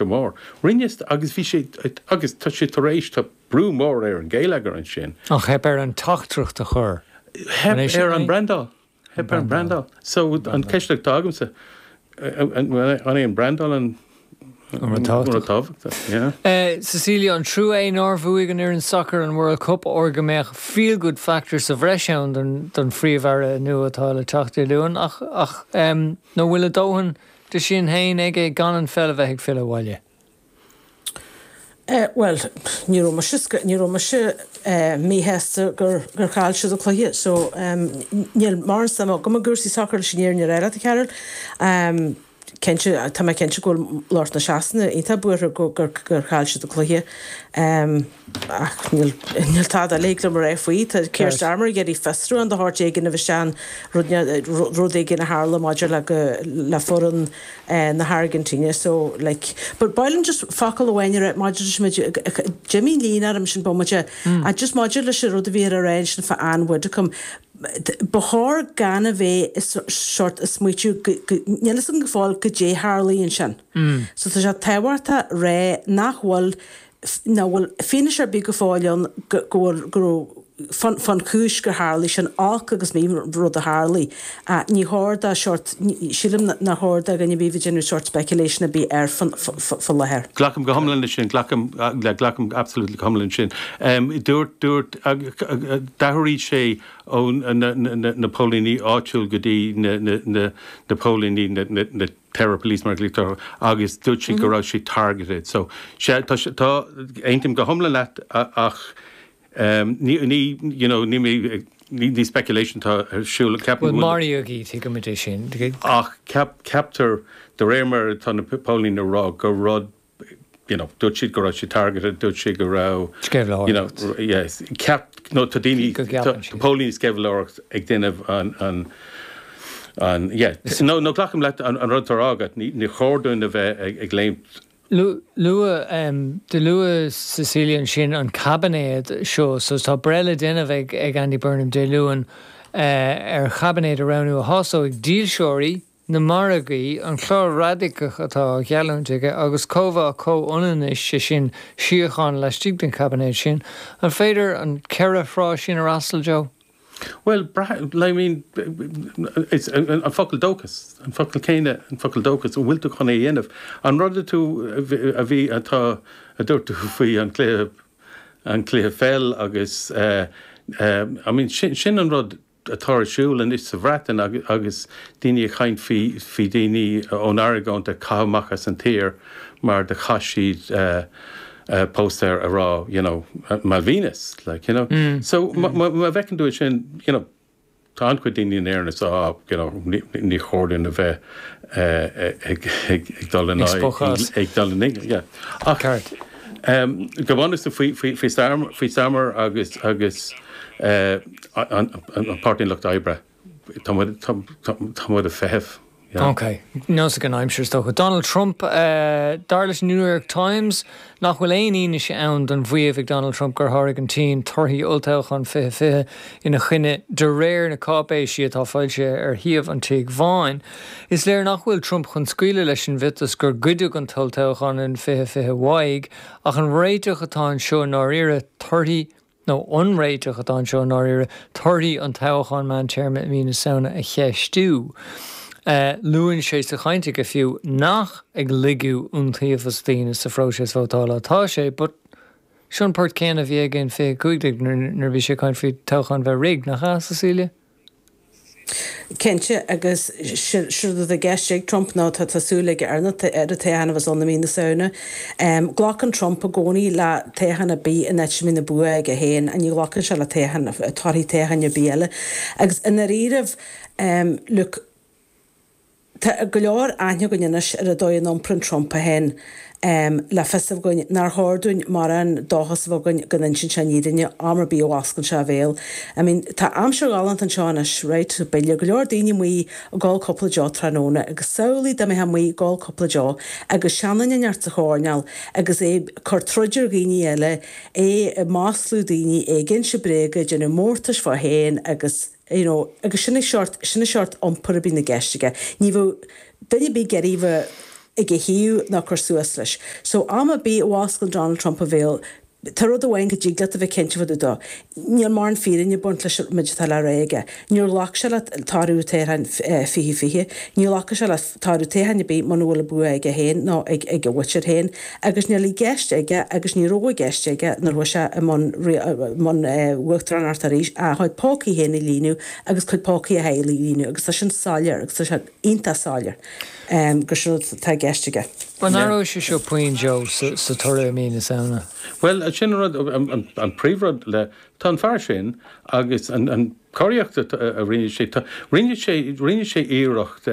Mór. Rinne agus bhí sé agus tá sé tar éis tá brú mór ar an gheilleagar ansin. Ach theip air an teachtaireacht a chur. Theip ar an brandáil. Theip ar an brandáil. So an ceist atá agamsa an é an brandáil an rud tábhachtach? Yeah. Cecilia, an trua é nár bhuaigh an fhoireann sacair an World Cup óir go mbeadh feel good factor sa bhreis ann don phríomh-aire nua atá le teacht Dé Luain ach ach nó bhfuil a dóthain de sin féin aige gan an pheil a bheith ag filleadh abhaile? Bhuel, ní raibh mise, ní raibh mise míshásta gur gur chaill siad an cluiche so níl mórán suim agam i gcúrsaí sacair leis an fhírinne a rá leat, a Chearbhaill. Cinnte, tá mé cinnte go bhfuil lucht na Sasana iontach buartha gur gur chaill siad an cluiche. Ach níl níl tada eile thig liom a rá faoi. Tá Keir Starmer ag iarraidh fiosrúchán de shórt éigin a bheith ann rud rud éigin a tharla maidir le go le foireann na hAirgintíne so like but ba mhaith liom just focal amháin a rá maidir leis muid d'imigh líne orm sin bomaite ach just maidir leis an rud a bhí ar a rá ansin fá Ann Widdecombe ba chóir gan a bheith sórt ag smaoitiú go go níl fhios againn go fóill goidé tharlaigh ansin so tá sé tábhachtach rá nach bhfuil nach bhfuil fianaise ar bith go fóill ann go bhfuil, go raibh, fán, fán chúis gur tharlaigh sin, olc agus mí rud a tharlaigh. Ní chóir do shórt, sílim nár chóir do dhuine ar bith bheith ag déanamh sórt speculation ar bith air fá láthair. Glacaim go hiomlán leis sin, glacaim, glacaim absolutely go hiomlán leis sin. Dúirt, dúirt, d'athraigh sé ó na, na, na póilíní áitiúil go dtí na, na, na, na póilíní, na, na, na, terror police mar a ghlaoitear orthu agus dúirt sí go raibh sé targeted. So, sea, tá sé, tá, aontaím go hiomlán leat ach ní, ní, you know, ní mé, ní, ní speculation atá ar siúl, ceapaim go bhfuil. Bhuel, maraíodh í, tuigimid é sin. Ach ceap, ceaptar, de réir mar atá na póilíní ag rá, gur rud you know, dúirt siad go raibh sé targeted, dúirt siad go raibh, you know, Sceimhlitheoireacht. yes, ceap, no, tá daoine, Go gceapann tá siad. póilíní sceimhlitheoireacht ag déanamh an, an, an, yeah, no, no, glacaim leat an, an rud atá á rá agat, ní, ní chóir dúinn a bheith ag, ag léimt. Luaigh, em, do luaigh Cecilia ansin an caibinéad seo, so tá breith le déanamh ag, ag Andy Burnham Dé Luain, eh, ar chaibinéad a roghnú a shásóidh dílseoirí, na margaí, an clár radacach atá á gheallúint aige agus cóimheá comhionannais, sé sin, síocháin laistigh den chaibinéad sin. An féidir an cheithre thrá sin a fhreastal, Joe? Bhuel, I mean, it's an focal dóchas, an focal céanna, an focal dóchas, an bhfuil tú chun é a dhéanamh? An rud a tú, a bhí, atá, a dúirt tú faoi an cluiche, an cluiche pheil agus, I mean, sin, sin an rud atá ar siúl anois sa Bhreatain agus daoine ag caint faoi faoi daoine ón argóint a caitheadh amach as an tír mar do chaith siad póstaer a rá you know Malvinas like you know. So má bhfeiceann tú é sin you know tá an-chuid daoine in Éirinn is ah you know ní chóir dúinn a bheith ag dul in aghaidh ag dul in aghaidh yeah. Ach go bunúsach faoi faoi faoi Starmer agus agus an Páirtí an Lucht Oibre, tá muid tá muid ag feitheamh. Yeah. Ok. Nós ag an aimsir is dócha. Donald Trump, dar leis an New York Times nach bhfuil aon fhianaise ann don mhaíomh ag Donald Trump gur sháraigh an tSín torthaí olltoghchán 2020 ina choinne de réir na cáipéisí atá foilsithe ar shuíomh an Tigh Bháin. Is léir nach bhfuil Trump chun scaoileadh leis an mhiotas gur goideadh an t-olltoghchán in 2020 uaidh ach an réiteach atá anseo i ndáiríre torthaí nó an réiteach atá anseo i ndáiríre, torthaí an toghcháin meántéarma i mí na Samhna a cheistiú. Luann sé sa chaint aige fiú nach ag lagú iontaobhas daoine sa phróiseas vótála atá sé, but seo an port céanna a bhí aige in 2015 nuair a bhí sé ag caint faoi toghchán bheith rigged, nach ea, Cecilia? Cinnte, agus séard atá i gceist ag Trump ná tá súil aige ar an toghchán a bheas ann i mí na Samhna. Glacann Trump i gcónaí le toghchán ar bith in áit a mbíonn an bua aige féin, ní ghlacann sé le toghchán, torthaí toghcháin ar bith eile. Agus i ndáiríribh, look, Tá go leor aithne againn anois ar an dóigh a n-iomprann Trump é féin le fios a bheith againn nár chóir dúinn mórán dóchas a bheith againn go n-insíonn sé an fhírinne am ar bith a bhfosclann sé a bhéal. I mean, tá aimsir ghalánta anseo anois, right? Beidh go leor daoine amuigh ag ól cúpla deoch tráthnóna agus samhlaigh dá mbeifeá amuigh ag ól cúpla deoch agus seanduine inteacht sa choirnéal agus é ag cur troid ar dhaoine eile, é ag maslú daoine, é ag inse bréaga, ag déanamh mórtais fá féin agus. you know, agus sin an seort, sin an seort iompair a bhíonn i gceist aige. Ní bheadh duine ar bith ag iarraidh bheith. ag a thaobh ná cur suas leis. So am ar bith a bhfosclann Donald Trump a bhéal, tá rud amháin go dtig leat a bheith cinnte fá dtaobh dó, níl mórán fírinne ag baint leis an méid atá le rá aige. Níor ghlac sé le toradh toghcháin 2020, ní ghlacfaidh sé le toradh toghcháin ar bith muna bhfuil an bua aige féin nó ag a mhuintir féin agus níl i gceist aige agus ní raibh i gceist aige nuair a chuaigh sé i mbun mbun uachtaránacht arís ach a chuid pócaí féin a líonadh agus cuid pócaí a theaghlaigh a líonadh agus tá sin soiléir agus tá sé iontach soiléir. gur sin rud atá i gceist aige. An athróidh sé seo puinn, Joe, sa toradh i mí na Samhna? Bhuel, sin an rud, an príomhrud le, tá an fear sin agus an chóiríocht a rinne sé, tá, rinne sé, rinne sé iarracht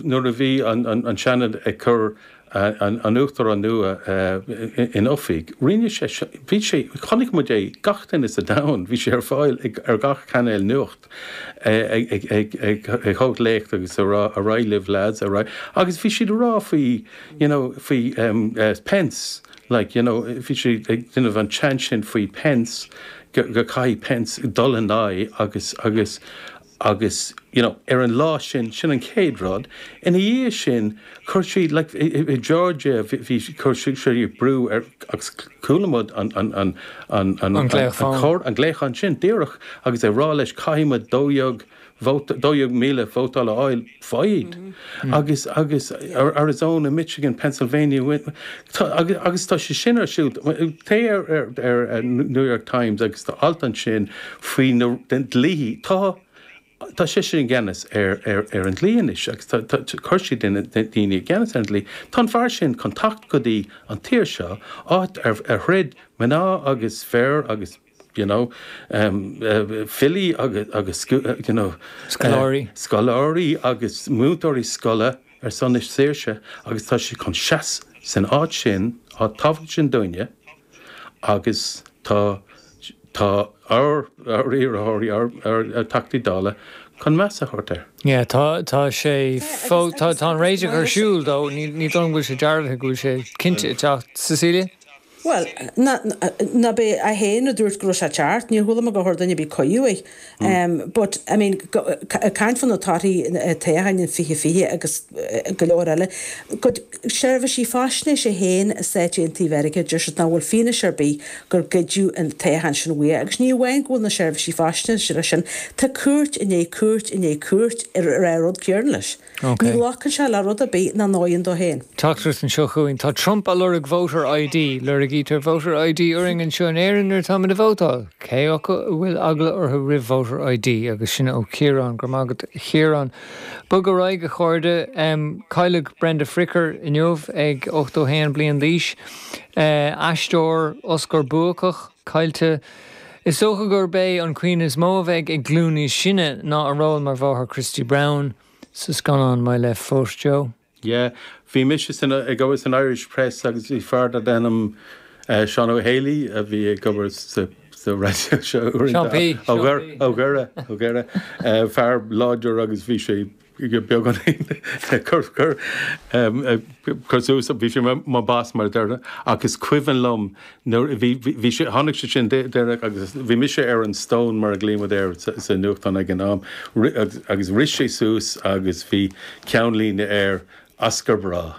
nuair a bhí an Seanad ag cur an Uachtarán nua in oifig, rinne sé, bhí sé, chonaic muid é, gach duine sa domhan, bhí sé ar fáil ar gach cainéal nuacht ag tabhairt léacht agus ag rá ar aghaidh libh lads, ar aghaidh, agus bhí siad ag rá faoi, you know, faoi Pence, like, you know, bhí sé ag déanamh an chant sin faoi Pence, go caithfidh Pence dul in aghaidh agus, agus, Agus, you know, ar an lá sin, sin an chéad rud. Ina dhiaidh sin, chuir siad, like, i Georgia, bhí, chuir siad brú ar, agus chuala muid an, an, an, an, an, An glaoch fóin. an glaochán sin, díreach, agus ag rá leis, caithfidh muid 12,000 vóta, 12,000 vótáil a fháil, faigh iad. Agus, agus Arizona, Michigan, Pennsylvania, tá, agus, agus tá sé sin ar siúl. Téigh ar, ar, ar New York Times agus tá alt ansin faoi na dlíthe. Tá, tá seisean i gceannas ar, ar, ar an dlí anois agus tá, tá, chuir siad duine, daoine i gceannas ar an dlí. Tá an fear sin chun teacht go dtí an tír seo, áit ar, ar throid mná agus fir agus you know, filí agus, you know, scoláirí. scoláirí agus múinteoirí scoile ar son na saoirse agus tá sé chun seas san áit sin, áit tábhachtach sin dúinne agus tá, tá ár, ár iarrthóirí, ár, ár dTeachtaí Dála chun meas a thabhairt air. Yeah, tá, tá sé fó, tá, tá an réiteach ar siúl though, ní, ní dóigh liom go bhfuil sé dearbhaithe go bhfuil sé cinnte ag teacht. Cecilia? Bhuel, ná b'é é féin a dúirt go raibh sé ceart, níor chuala mé gur chuir duine ar bith cuiú air. But, I mean, ag caint fá na torthaí toghcháin in 2020 agus go leor eile, cuid seirbhísí faisnéise féin i Stáit Aontaithe Mheiriceá, deir siad nach bhfuil fianaise ar bith gur goideadh an toghchán sin uaidh. Agus ní amháin go bhfuil na seirbhísí faisnéise leis sin, tá cúirt i ndiaidh cúirt i ndiaidh cúirt ag rá an rud céanna leis. Ní ghlacann sé le rud ar bith nach ndóigheann dó féin. Teachtaireacht anseo chugainn. Tá Trump á lorg Voter ID. Lorgaítear Voter ID orainn anseo in Éirinn nuair atáimid ag vótáil. Cé acu a bhfuil eagla orthu roimh Voter ID? Agus sin ó Chiarán. Go raibh maith agat a Chiaráin. Bog ar aghaidh a chairde. Cailleadh Brenda Fricker inniu ag 81 bliain d'aois. Aisteoir Oscar buacach caillte. Is dócha gurb é an cuimhne is mó a bheidh ag glúin níos sine ná a ról mar mháthair Christy Brown. Sa scannán My Left Foot, Joe. Yeah. Bhí mise san, ag obair san Irish Press agus bhí fear darb ainm Seán Ó Héalaí a bhí ag obair sa, sa raidió seo uaireanta. Seán P. Ó Dhoire, ó Dhoire, ó Dhoire. Fear láidir agus bhí sé beagáinín cur, cur, cur suas, bhí sé mar boss mar a déarfá ach is cuimhin liom Nuair a bhí, bhí sé, tháinig sé sin deireadh agus bhí mise ar an stone mar a ghlaoigh muid air sa nuachtán ag an am agus rith sé suas agus bhí ceannlíne air, Oscar breá.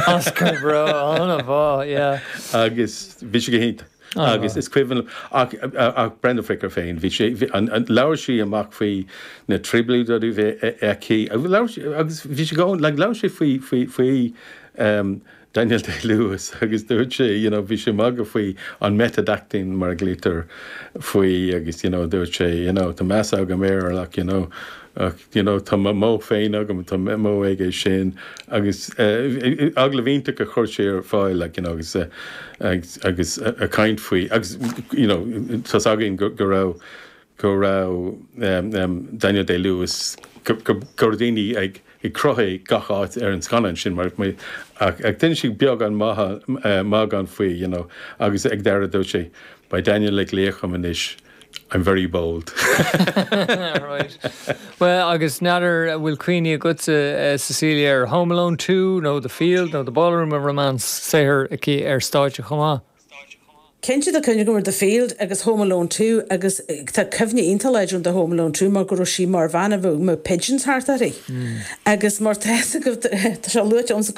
Oscar breá, an-mhaith, yeah. Agus bhí sé go hiontach. Agus is cuimhin liom, ach, ach Brenda Fricker féin, bhí sé, bhí, an, an, labhair sí amach faoi na trioblóidí a bhí aici, labhair sí, agus bhí sé go, like, labhair sé faoi, faoi, faoi, um, Daniel Day-Lewis agus dúirt sé you know bhí sé ag magadh faoi an method acting mar a ghlaoitear faoi agus you know dúirt sé you know tá meas agam air ach you know ach you know tá mo mhodh féin agam tá modh aige sin agus eh, agallamh iontach a chuir sé ar fáil like you know agus eh, agus agus ag caint faoi agus you know tá's againn go go raibh go raibh Daniel Day-Lewis, go raibh daoine ag croitheadh gach áit ar an scannán sin mar ach d'inis sé beagán magadh faoi you know agus ag deireadh dúirt sé beidh Daniel ag glaoch orm anois I'm very bold. Right. Well agus n'fheadar an bhfuil cuimhní agatsa Cecilia ar Home Alone 2 nó The Field nó The Ballroom of Romance saothar aici ar stáitse chomh maith? Cinnte tá cuimhne agam ar The Field agus Home Alone 2 agus tá cuimhne iontach láidir agam de Home Alone 2 mar go raibh sí mar bhean a bheadh pigeons thart uirthi. Agus mar tá fhios agaibh tá sé luaite ionsa go.